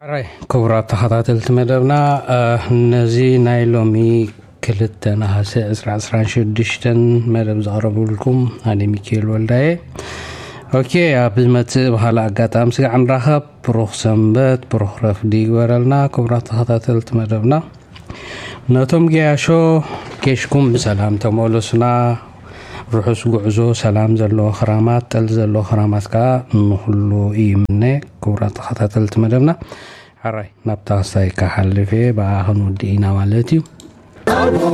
ሕራይ ክቡራት ተኸታተልቲ መደብና፣ ነዚ ናይ ሎሚ ክልተ ነሃሰ ዕስራ ዕስራን ሽዱሽተን መደብ ዘቕረብልኩም ኣነ ሚኪኤል ወልዳየ። ኦኬ፣ ኣብ ዝመጽእ ብኻልእ ኣጋጣሚ ስጋዕ ንራኸብ። ብሩኽ ሰንበት፣ ብሩኽ ረፍዲ ይግበረልና ክቡራት ተኸታተልቲ መደብና። ነቶም ገያሾ ጌሽኩም ብሰላም ተመለሱና። ርሑስ ጉዕዞ፣ ሰላም ዘለዎ ክራማት፣ ጠል ዘለዎ ክራማት ከኣ ንኹሉ ይምነ። ክቡራት ተኸታተልቲ መደብና፣ ሕራይ ናብታ ክስታይ ክሓልፍ እየ፣ ብኣ ክንውድእ ኢና ማለት እዩ።